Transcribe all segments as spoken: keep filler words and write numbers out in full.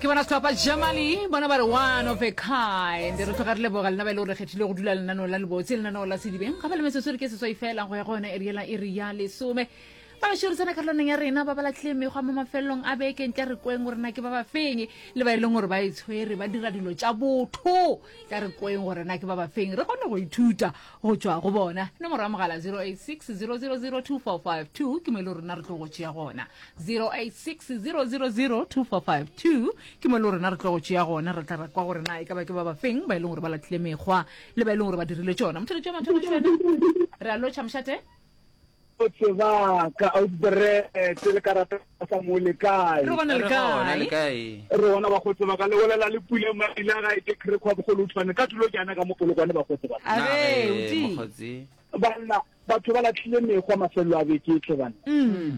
Ke bona sehlopha Jamali, bona ba re one of a kind. Re tloga re leboga lena ba e le gore re kgethile go dula lenaneo la lebotse, lenaneo la sedibeng. Ga ba le metsotso re ke seswai fela go ya go yona iri yela iri ya lesome. Ba bešo re tsena karolwaneng ya rena ba ba lahlile mekgwa mo mafelelong a beke ntle re kweng gore na ke ba ba feng le ba e leng gore ba e tshwere ba dira dilo tša botho tla re kweng gore na ke ba ba feng re kgone go ithuta go tšwa go bona nomoro ya mogala zero eight six zero zero zero two four five two ke mo e le rena re tlo go tšea gona zero eight six zero zero zero two four five two ke mo e le rena re tlo go tšea gona re tla re kwa gore na e ka ba ke ba ba feng ba e leng gore ba lahlile mekgwa le ba e leng gore ba dirile tšona motheletši wa mathomo tšwena re a lotšha mošate Botse ba ka outbread le ka rata sa mo le kae? Re gona le Re gona le kae? kae? Re gona bakgotse ba ka le bolela le pule maila gae ke krekwa bogolo tshwane ka tulo ke ana ka mo polokwane bakgotse ba. A Na re, ge oti. mokgotsi. Banna batho ba lahlile mekgwa mafelelo a beke tle banna. Mm.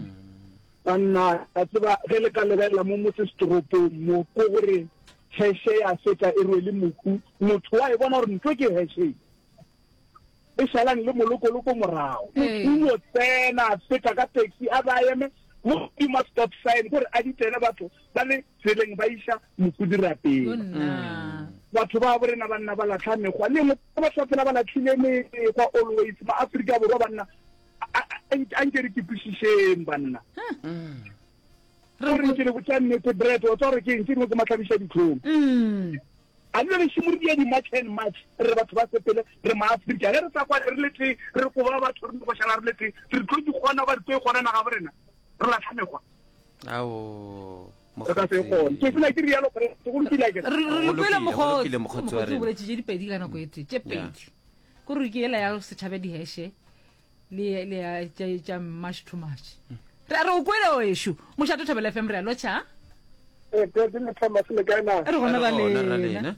Banna a tseba ge le ka lebelela mo motse setoropong mo ko gore heshe ya feta e rwele mohu motho wa e bona gore ntho ke heshe e šalang le molokoloko morago. Ee. Motho o tsena a feta ka taxi a ba eme mo godimo ga stop sign gore a di tsene batho ba le tseleng ba iša mohu dirapeng. Yo nna. Batho ba bo rena banna ba lahla mekgwa le engwe batho ba phela ba lahlile mekgwa always ma Afrika Borwa banna a, a, a, a nke re ke kwešišeng banna. Re Gore ke le botša nnete bread wa tswa gore ke eng tše dingwe ke mahlabiša dihlong. Mm. A le le šimo re dia di-march and march re batho ba sepele re ma-Afrika ge re sa kwane re le tee re koba batho re nyako šala re le tee re tlo di kgona goba re tlo e kgona naga bo rena re lahla mekgwa Ao, re ka se e kgone ke mokgotsi. fela ke rialo gore go lokile akere Re re Go lokile lokile, go mokgotsi. lokile mokgotsi wa Mokgotsi o rena. boletše tše dipedi ka nako e tee, tše Ya. pedi. Ko re ke yela ya setšhaba diheshe le le ya tša tša march to march. Re a re o kwele wešo. Mošate Thobela F M re a lotšha. Eh, President le Thomas le kae na? Re gona Re ra gona ra lena. lena.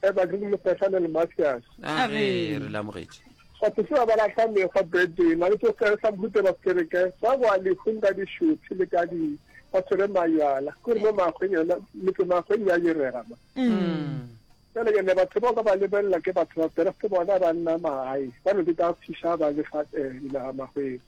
Eh, ba ke Mofehlane le Mathias. A A ge re. re le amogetše. Batho se ba ba lahla mekgwa Brandon, a le tlo se sa mhute ba sekereke, ba boa lehung ka dišothi le ka di ba tshwere majwala. Ke gore mo makgweng yona, metse makgweng ya direga ma. Mm. Jale ke ne batho bao ka ba lebelela ke batho ba Kreste bona ba nna magae, ba no di ka fiša ba le fa eh, dinaga makgweng.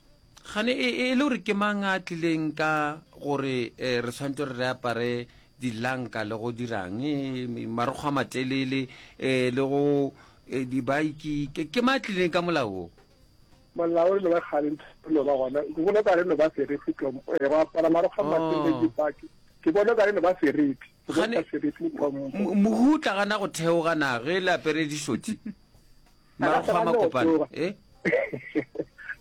Gane e e le gore ke mang a tlileng ka gore eh, re tshwanetse gore re apare dilanka le go dirang eh, marokgo a matelele eh, le go eh, dibaiki ke ke mang a tlileng ka molao wo? Molao re no ba kgale ntho no ba gona. Ke bona ka re no ba serifi tlo eh, go apara marokgo a matelele Oh. dipaki. Ke bona ka re no ba serifi. Ke bona Gane ka serifi le tlhompho. mo- mohu o tla gana go theoga na ge le apere dišothi A ka se marokgo a gane go makopana theoga. eh?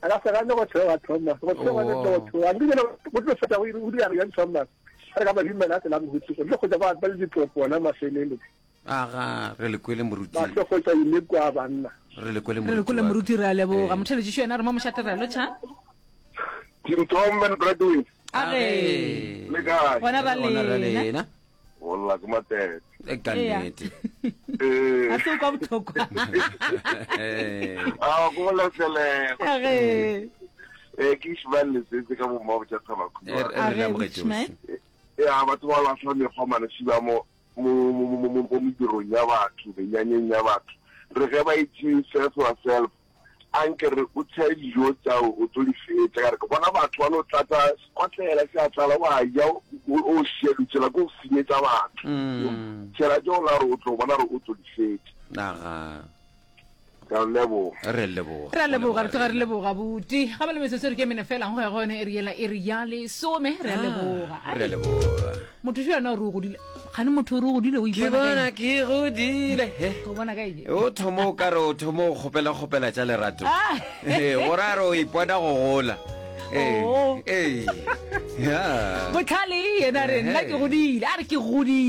A ka se gane go theoga Thomas. Go theoga le go Oh. theoga. Nke jale go tlo fetša go iri- go dira bjang Thomas. A re ka ba dumela a tsela mohuti. Go tlo kgotsa ba ba le ditlopo ona mafelelo. Aga re le kwele moruti. Ba tlo kgotsa imekwa banna. Re le kwele Re le moruti kwele wa ka. moruti re a leboga. Eh. Motheletši yena re mo mošate re a lotšha. King Tom and Bradwin. A ge. A ge. Le kae? Gona ra Re gona ra lena. lena. Hola ke matete. E ka Eya. nnete. Eh. A se o kwa bohloko. Eh. A go letlelela. A ge. Eh ke Ishmael Letsetse ka bo mma botša thaba Eh, re A le ge amogetše Ishmael. ohle. Ya batho ba lahla mekgwa mane ba mo mo mo mo mo medirong ya batho, menyanyeng ya batho. Re ge ba itse self yourself. Anke re o tshe dijo tsa o tlo di fetša ka re ke bona batho ba no tlatsa sekotlela se a tlala wa ja o o šia ditsela ko senyetsa batho. Mm. Tšhela tšeo la re o tlo bona re o tlo di fetša. Aga. Ka leboga. Re leboga. Re a leboga, re tloga re leboga buti. Ga ba le metsotso re ke mene fela go ya go yone e re yela e re ya lesome re a leboga. Re a leboga. Motho yo yena o re o godile. Gane motho o re o godile o Ke ipona ka bona eng? ke godile. He. O bona ka eng? O thoma o ka re o thoma o kgopela kgopela tša lerato. Ah. Eh, gore a re o ipona go gola. Eh, Oh. eh. Ya. Botlhale yena re nna ke Eh. godile. A re ke godile.